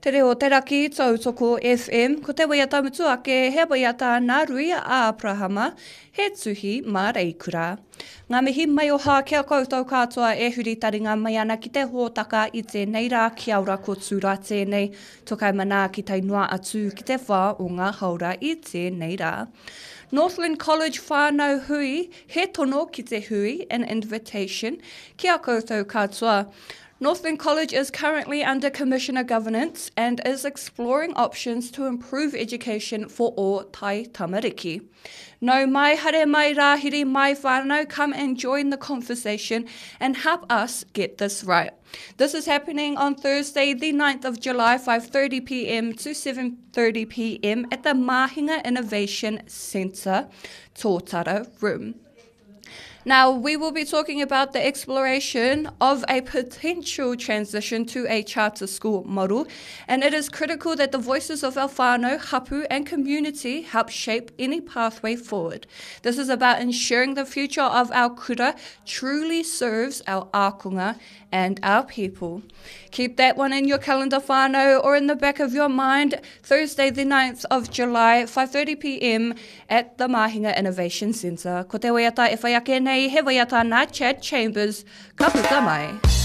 Te Reo o te Raki, Tautoko FM, ko te waiata mutu ake he waiata nā Ruia Āperahama, he tuhi mā Reikura. Ngā mihi maioha ki a koutou katoa e huri taringa mai ana ki te hōtaka i tēnei rā kia ora ko Tūra tēnei, tokai manaaki tae noa atu ki te whā o ngā haora i tēnei rā. Northland College whānau hui, he tono ki te hui, an invitation, ki a koutou katoa. Northland College is currently under Commissioner governance and is exploring options to improve education for all Tai tamariki. No mai, hare mai, rāhiri mai whānau, come and join the conversation and help us get this right. This is happening on Thursday, the 9th of July, 5.30pm to 7.30pm at the Mahinga Innovation Centre, Tōtara Room. Now, we will be talking about the exploration of a potential transition to a charter school model, and it is critical that the voices of our whānau, hapu, and community help shape any pathway forward. This is about ensuring the future of our kura truly serves our ākonga and our people. Keep that one in your calendar whānau or in the back of your mind. Thursday the 9th of July, 5.30pm at the Mahinga Innovation Centre. Ko te waiata e whai ake nei, he waiata nā Chad Chambers. Ka puta mai.